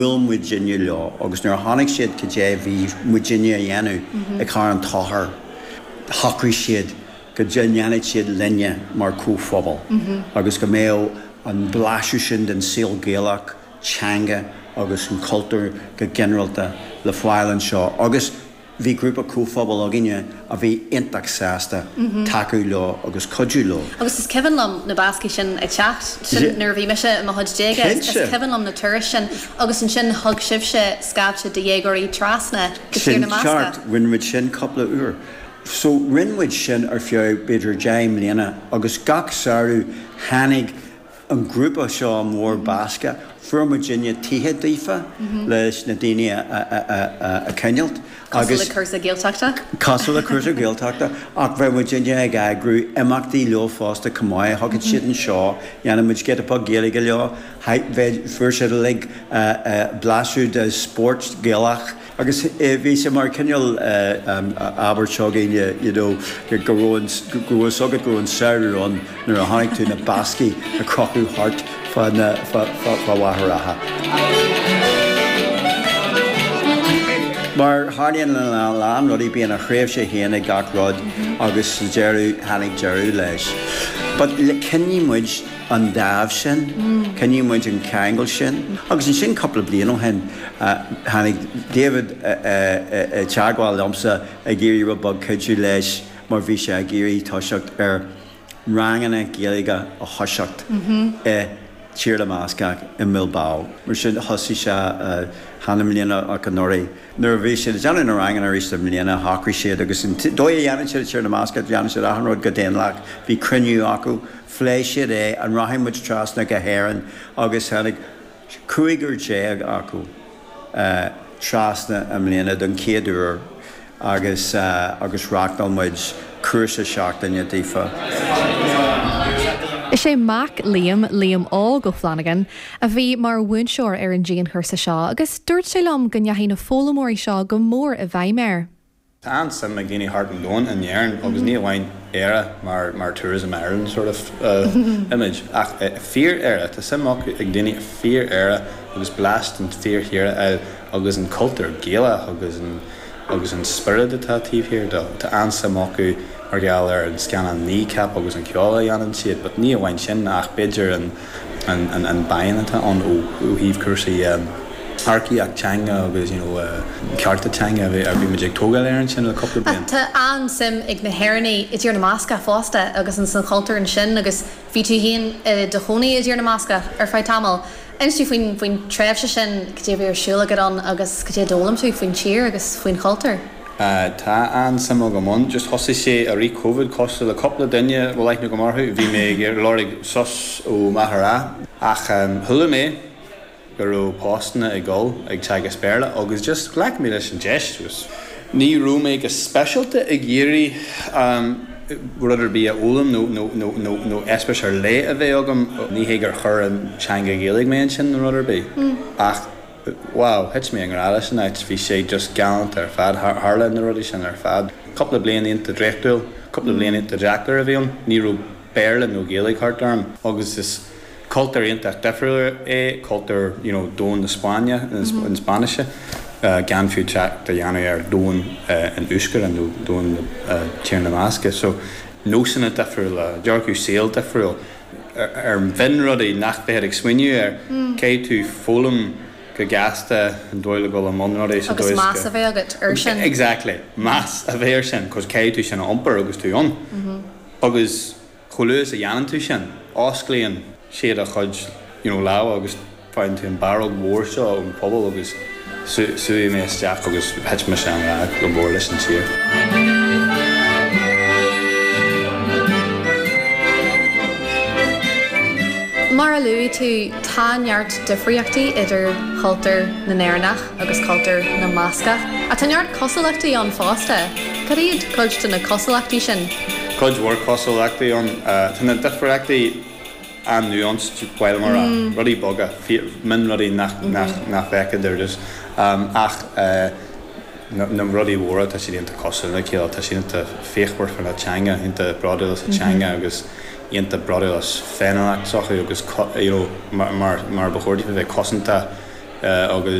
Bhuail muidinne leo agus nuair a chonaic siad cad é a bhí muidinne a dhéanamh i Carn Tóchair, shocraigh siad go ndéanfadh siad linne mar comhphobal agus go mbeadh an blaiseadh sin den saol Gaelach, teanga agus an cultúr go ginearálta le fáil anseo agus Bhí grúpa comhphobail againne a bhí iontach sásta tacú leo agus cuidiú leo. Agus is cuimhin liom na Bascaigh sin ag teacht, sin nuair a bhí mise i mo chuid déaga, is cuimhin liom na turais sin agus ansin thug sibhse scaifte de dhéagóirí trasna go Tír na Sin ceart, mBascach. rinne muid sin cúpla uair. So rinne muid sin ar feadh b'fhéidir 10 mbliana agus gach samhradh tháinig an grúpa seo mór Bascach, fuair muidinne tithe daofa leis na daoine a choinneáilt agus. Cosúil le cúrsa Gaeltachta? Cosúil le cúrsa Gaeltachta, ach bheadh muidinne ag eagrú imeachtaí leo fosta chomh maith, thiocfadh siad anseo, dhéanadh muid giota beag Gaeilge leo, fuair siad uilig blaiseadh de spórt Gaelach. Agus bhí sé mar cineál abairt seo againne, you know, go raibh an, go raibh fhios agat go raibh an samhradh ann nuair a chonaic tú na Bascaigh ag crochadh thart fá na, fá, fá, fá Mhachaire Rátha. Mar tharlaíonn lena lán rudaí, bíonn a thréimhse féin ag gach rud agus sa deireadh, tháinig deireadh leis. But choinnigh muid an dáimh sin, choinnigh muid an ceangal sin. Agus ansin cúpla bliain ó shin, tháinig David i dteagmháil liomsa ag iarraidh rud beag cuidiú leis mar bhí sé ag iarraidh toiseacht ar ranganna Gaeilge a thoiseacht i Tír na mBascach i mBilbao. Mar sin thosaigh sé chan i mbliana ach anuraidh. Nuair a bhí siad ag déanamh na ranganna arís i mbliana shocraigh siad agus an dóigh a dhéanann siad i Tír na mBascach déanann siad achan rud go daonlathach, bhí cruinniú acu, phléigh siad é, an rachaidh muid trasna go hÉirinn agus tháinig 15 acu trasna i mbliana don chéad uair agus agus reáchtáil muid cúrsa seachtaine daofa. Is é mac Liam, Liam Óg Ó Flannagáin, a bhí mar mhúinteoir ar an dianchúrsa seo agus dúirt sé liom go ndeachaigh na foghlaimeoirí seo go mór i bhfeidhm air. Tá an-suim ag daoine thart an domhan in Éirinn agus ní amháin Éire mar mar Tourism Ireland sort of image ach fíor-Éire. Tá suim acu ag daoine i fíor-Éire agus blas den fíor-thír a fháil agus an cultúr Gaelach agus an agus an spiorad atá taobh thiar dó. Tá an-suim acu mar gheall ar an scannán Kneecap agus an ceol a dhéanann siad but ní amháin sin ach b'fhéidir an an bonn atá ann ó thaobh cúrsaí earcaíocht teanga agus you know cearta teanga a bhí muid ag tógáil air ansin le cúpla bliain. Tá an-suim ag na hÉireannaigh i dTír na mBascach fosta agus ins an chultúr ansin agus bhí tú féin i do chónaí i dTír na mBascach ar feadh tamaill. Inis dúinn faoin faoin tréimhse sin, cad é a bhí ar siúl agat ann agus cad é a d'fhoghlaim tú faoin tír agus faoin chultúr. Tá an-suim agam ann. Just thosaigh sé i rith Covid cosúil le cúpla duine a bhfuil aithne agam orthu. Bhí mé ag lorg sos ó Mhachaire Rátha ach chuala mé go raibh postanna ag dul ag teagasc Béarla agus just ghlac mé leis an deis. Just ní raibh mé go speisialta ag iarraidh rud ar bith a fhoghlaim nó nó nó nó nó eispéireas ar leith a bheith agam. Ní hé gur chuir an teanga Ghaeilge mé ansin nó rud ar bith ach wow, thit mé i ngrá leis an áit, bhí sé just galánta ar fad, tharla na rudaí sin ar fad. Cúpla bliain iontach draíochtúil, cúpla bliain iontach deacair a bhí ann, ní raibh Béarla nó Gaeilge thart orm agus is cultúr iontach difriúil é cultúr you know domhan na Spáinne, na Spáinnise, gan fiú trácht a dhéanamh ar domhan an Euskera nó domhan Tír na mBascach. So nósanna difriúla, dearcadh saoil difriúil. ar mhionrudaí nach mbeifeá ag smaoineamh air. Caithfidh tú foghlaim go gasta an dóigh le dul i mbun rudaí sa dóigh is go. Agus meas a bheith agat air sin. Exactly. Meas a bheith air sin, 'cause caithfidh tú sin a iompar agus tú ann. Agus chomh luath is a dhéanann tú sin, osclaíonn siad a chuid you know lámha agus Faigheann tú an barróg mhór seo ón phobal agus chuaigh mé isteach agus thit mise i ngrá go mór leis an tír. Mar a luaigh tú, tá neart difríochtaí idir chultúr na nÉireannach agus cultúr na mBascach. Ach tá neart cosúlachtaí ann fosta. Cad iad cuid de na cosúlachtaí sin? Cuid mhór cosúlachtaí ann. Tá na difríochtaí. an-nuanced, bhuel mar a, rudaí beaga, mionrudaí nach bhfeicfeá ar dtús. Ach na rudaí mhóra, tá siad iontach cosúil le chéile, tá siad iontach fíochmhar faoina teanga, iontach bródúil as a teanga agus iontach bródúil as féiniúlacht s'acu agus you know mar ba chóir daofa bheith cosanta. Agus.